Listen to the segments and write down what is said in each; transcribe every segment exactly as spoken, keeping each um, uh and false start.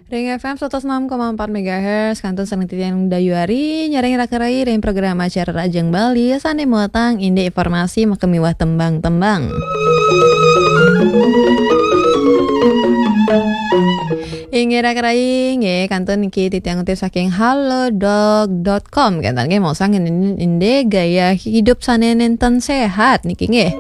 Ring F M seratus enam koma empat megahertz, kantun sareng titiang Dayu Ari, nyarengin raka-rayi ring program acara Rahajeng Bali, sane muatang indik informasi makamiwah tembang-tembang. Inggih raka-rayi, nggih, kantun niki titiang ngutip saking halodoc dot com, kenten nggih, maosang indik gaya hidup sane nenten sehat niki nggih.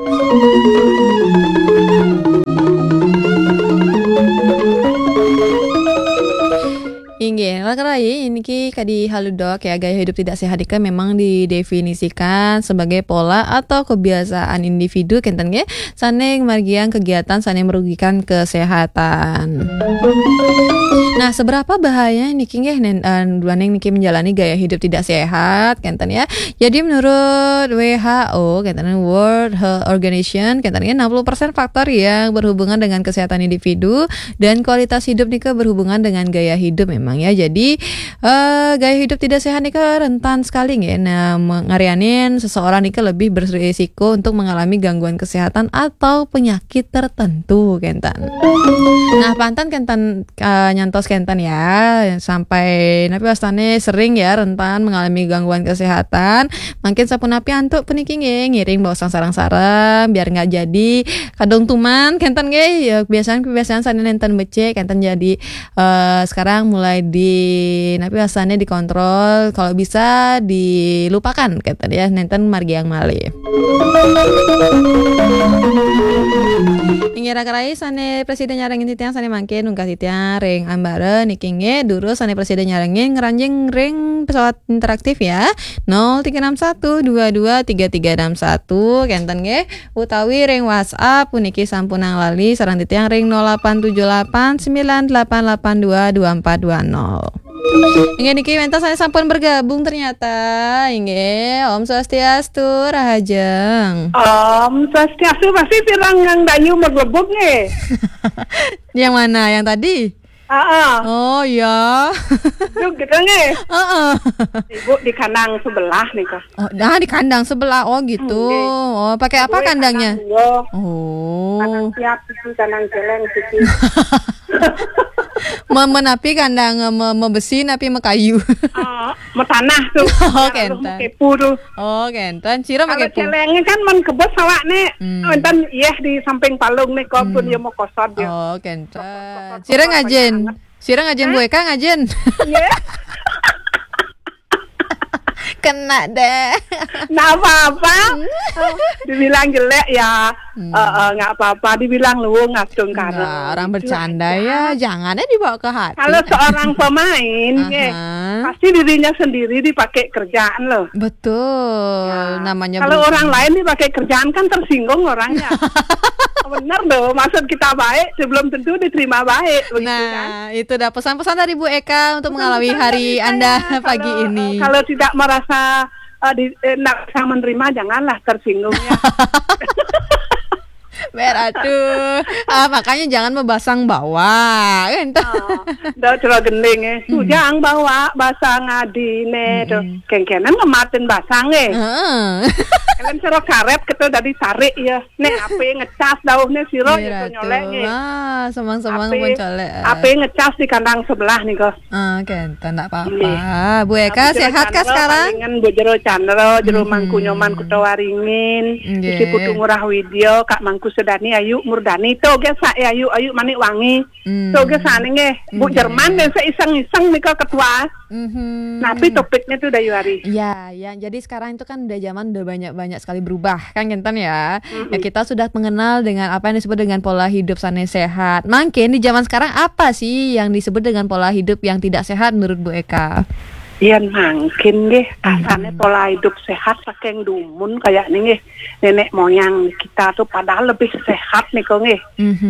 Inggih, raka-rayi, niki kadi Halodoc ya, gaya hidup tidak sehat nika memang didefinisikan sebagai pola atau kebiasaan individu, kenten nggih, sane margiang kegiatan sane merugikan kesehatan. Nah, seberapa bahaya niki nggih, nen, eh, duaning niki menjalani gaya hidup tidak sehat, kenten ya. Jadi menurut W H O, kenten, World Health Organization, kenten nggih, enam puluh persen faktor yang berhubungan dengan kesehatan individu dan kualitas hidup nika berhubungan dengan gaya hidup memang ya. Jadi, eh, gaya hidup tidak sehat nika rentan sekali nggih. Nah, me-, ngarianin seseorang nika lebih berisiko untuk mengalami gangguan kesehatan atau penyakit tertentu, kenten. Nah, panten kenten, eh, nyantos kenten ya, sampai napi wastane sering ya rentan mengalami gangguan kesehatan. Mangkin sapunapi antuk puniki nggih, ngiring baosang sareng-sareng biar nggak jadi kadung tuman kenten nggih. Ya, kebiasaan-kebiasaan sane nenten becik kenten jadi, eh, sekarang mulai di napi wastane dikontrol, kalau bisa dilupakan kenten ya, nenten margiang malih. Inggih raka-rayi, sane prasida nyarengin titiang sane mangkin nungkah titiang ring ambara niki nggih, durus sane prasida nyarengin ngranjing ring pesawat interaktif ya. Nol tiga enam satu dua dua tiga tiga enam satu, kenten nggih, utawi ring WhatsApp puniki sampunang lali sareng titiang ring nol delapan tujuh delapan sembilan delapan delapan dua dua empat dua nol. Inggih niki wenten sane sampun bergabung ternyata. Inggih, Om Swastiastu, Rahajeng. Om Swastiastu, pasti pirang nang Dayu maglebug nggih. Yang mana? Yang tadi? Heeh. Oh, iya. Itu gitu nggih. Heeh. Ibu di kandang sebelah nika. Oh, dah di kandang sebelah. Oh, gitu. Nggih. Oh, pakai apa kandangnya? Kandang dua. Oh. Kandang siap siki, kandang celeng siki. Me-, menapi kandang, me-, mebesi napi mekayu? Ah, metanah tuh. Oh, kenten. Mekepu tuh. Oh, kenten. Sira kalau mekepu. Celengnya kan men kebes awak nih. Hmm. Wenten, iya, di samping palung nih, kok pun ya mau kosot ya. Oh, kenten. Sira ngajen. Sira ngajen, Bu Eka ngajen. Iya. Kena deh. Nggak apa-apa. Dibilang jelek ya, eh, eh, nggak apa-apa. Dibilang luwung ngasung karena. Nggak, orang bercanda ya, jangan ya dibawa ke hati. Kalau seorang pemain, nggih, pasti dirinya sendiri dipakai kerjaan loh. Betul, namanya kalau orang lain dipakai kerjaan kan tersinggung orangnya. Benar loh, maksud kita baik, sebelum tentu diterima baik, begitu kan? Nah, itu dah pesan-pesan dari Bu Eka untuk mengawali hari Anda pagi ini. Kalau tidak merasa, eh, di, eh, nggak bisa menerima, janganlah tersinggung ya. Ber, aduh. Ah, makanya jangan mebasang bawa, kan? Ah, dah cara gending, eh. Tujang bawa basang adine, tuh. Kengkenen ngematin basang, eh. Heeh. Kalian cara karet gitu dari tarik ya. Nek ape ngecas dauh nih sira ya, nyolek nih. Wah, semang-semang pun colek, eh. Ape ngecas di kandang sebelah nih, kok. Ah, kenten, ndak apa-apa. Nggih. Bu Eka, sehat kah sekarang? Palingan Bu Jero Chandra, Jero Mangku Nyoman, Kuta Waringin, Isi Putu Ngurah Widya, Kak Mangku Sedani, Ayu Murdani, to ge sak, eh, Ayu, Ayu Manik Wangi. To ge sane nggih. Bu Jerman deh, saya iseng-iseng nih, kok, ketua. Tapi topiknya tuh udah Yuari. Ya, ya. Jadi sekarang itu kan udah zaman udah banyak-banyak sekali berubah, kan kenten ya. Ya, kita sudah mengenal dengan apa yang disebut dengan pola hidup sane sehat. Mungkin di zaman sekarang apa sih yang disebut dengan pola hidup yang tidak sehat menurut Bu Eka? Yen mangkin nggih, asane pola hidup sehat saking dumun kayak nih nggih. Nenek moyang kita tuh padahal lebih sehat nih kok nggih.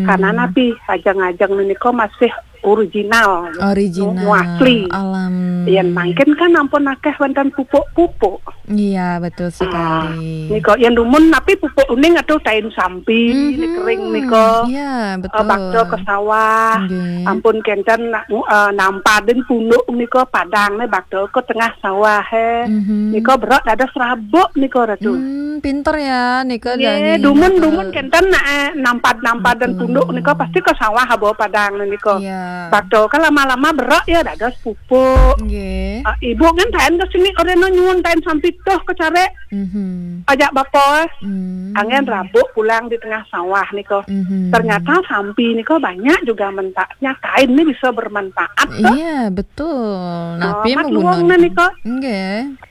Karena napi ajeng-ajeng nih kok masih original, original, nu asli. Alam. Yen mangkin kan ampun akeh wonten pupuk-pupuk. Iya, betul sekali. Nika, yen dumun napi pupuk uning atau tain sampi, Mhm. Nika kering nika. Iya, betul. Eh, bakda ke sawah. Nggih. Ampun kenten nak, eh, nampadin punduk nika padang ne bakda ke tengah sawah, eh. Mhm. Nika berak dados rabuk nika, Ratu. Hmm, pinter ya, nika. Nggih, dani dumun, betul. Dumun kenten nak, eh, nampad-nampad dan betul. Punduk nika pasti ke sawah aba padang ne nika. Iya. Bakda ke lama-lama berak ya dados pupuk. Nggih. Ah, ibu kan tain ke sini oreno nyuwun tain sampi toh ke carek. Mhm. Ajak bapa, eh. Hmm. Angen rabuk pulang di tengah sawah nika. Mhm. Ternyata sampi nika banyak juga manfaatnya. Kain ni bisa bermanfaat toh. Iya, betul. Nah, ah, pi mat luang ne nika. Nggih.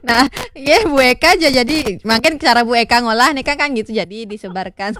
Nah, iya, Bu Eka aja jadi, makin cara Bu Eka ngolah nih kan, kan gitu, jadi disebarkan.